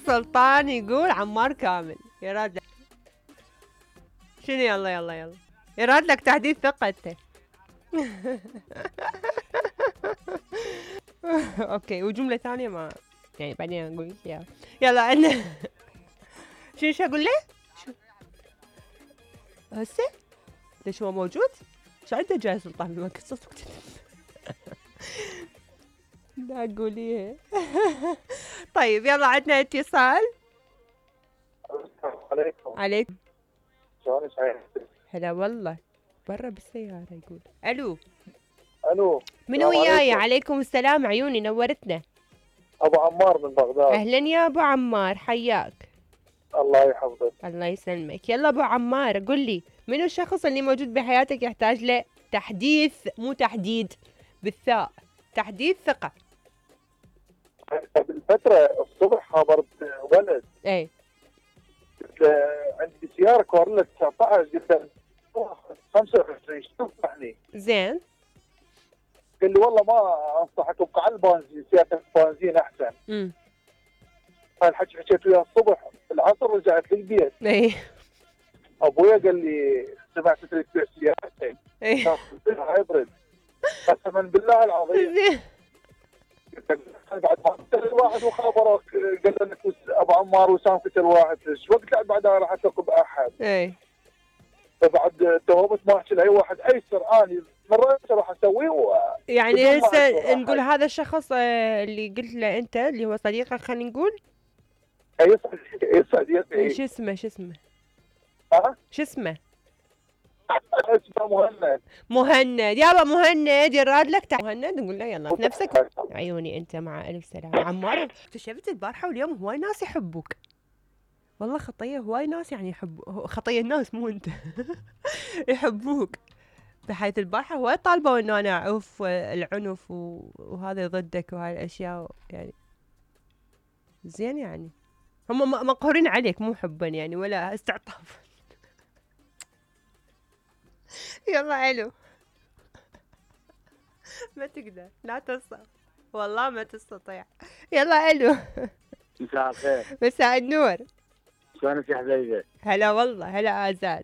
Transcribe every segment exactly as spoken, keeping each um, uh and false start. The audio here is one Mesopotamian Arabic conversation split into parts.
سلطان يقول عمار كامل يراد لك شنو؟ يلا يلا يلا يراد لك تحديث ثقة انت. اوكي وجملة ثانية ما يعني بعدين اقول لك اياها. يلا عندنا شنو شو اقول له؟ شو هسه؟ ليش هو موجود؟ شو عنده جاي سلطان بمكة صوتك؟ لا قوليها. طيب يلا عندنا اتصال. السلام عليكم. عليكم. شلونك سعيد؟ هلا والله برا بالسيارة يقول. الو. الو. منو وياي؟ عليكم السلام عيوني نورتنا. ابو عمار من بغداد. اهلا يا ابو عمار حياك. الله يحفظك. الله يسلمك. يلا ابو عمار قل لي منو الشخص اللي موجود بحياتك يحتاج له تحديث مو تحديد بالثاء تحديث ثقة؟ قبل فترة الصبح خابرت ولد. اي. عندي سيارة كورلا تسعة عشر قلت له خمسة وعشرين شو تنصحني؟ زين. قال لي والله ما انصحك ابقى على البنزين سيارة البنزين احسن. امم. فالحكي حكيت وياه الصبح العصر رجعت للبيت. اي. ابويا قال لي سمعت تريد تبيع سيارتك. اي. هايبرد. قسما بالله العظيم. زين. بعد ما قتل الواحد وخابرك قال لك ابو عمار وسام قتل واحد شو وقت بعدها راح اثق باحد. اي. فبعد توبت ما احكي لاي واحد ايسر اني مره راح اسويه و... يعني هسه نقول هذا الشخص اللي قلت له انت اللي هو صديقك خلينا نقول. اي صديقي اي صديقي. شو اسمه شو اسمه؟ ها؟ شو اسمه؟ اسمه مهند. مهند. يابا مهند يراد لك تعال مهند نقول له يلا نفسك عيوني انت مع الف سلامة. عمار اكتشفت البارحة واليوم هواي ناس يحبوك والله. خطية هواي ناس يعني يحبوا خطية الناس مو انت. يحبوك بحيث البارحة هواي طالبوا انه انا اعوف العنف وهذا ضدك وهاي الاشياء يعني زين يعني هم مقهورين عليك مو حبا يعني ولا استعطاف. يلا الو. ما تقدر لا تصل والله ما تستطيع. يلا الو. مساء الخير. مساء النور. شلونك يا حبيبي؟ هلا والله هلا آزاد.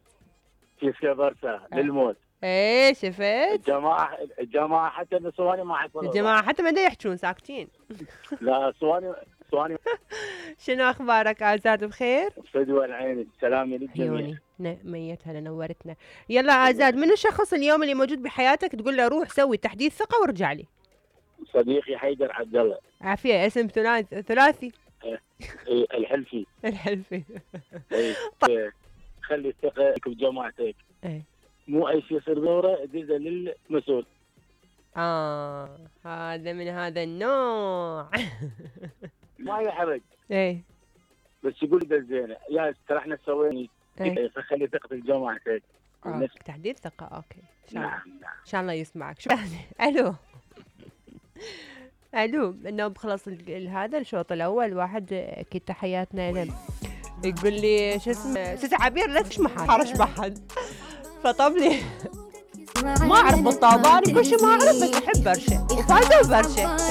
كيف كبرته للموت. ايه شفت؟ الجماعة الجماعة حتى النسواني ما حيكونوا. الجماعة حتى ما دا يحجون ساكتين. لا سواني سواني. شنو اخبارك آزاد بخير؟ فدوى العين سلامي للجميع. عيوني ميت هلا نورتنا. يلا آزاد منو الشخص اليوم اللي موجود بحياتك تقول له روح سوي تحديث ثقة وارجع لي؟ صديقي حيدر عبد الله. عافية اسم ثلاثي ثلاثي. ايه الحلفي. الحلفي. ايه خلي الثقة بجماعتك. ايه مو اي شيء يصير دوره دزه للمسؤول. اه هذا من هذا النوع. ما يحرج. ايه بس يقول لي زينه يا ترى احنا سوينا ايه فخلي ثقة بجماعتك. آه. تحديث ثقة اوكي. نعم نعم. ان شاء الله يسمعك. شو الو. الو انه بخلص هذا الشوط الاول واحد اكيد تحياتنا له يقول لي شو اسمه ست عبير لا تشمح حرش بحد فطب لي ما اعرف بالطابان كل شيء ما اعرف بس احب برشا وفايزه وبرشا.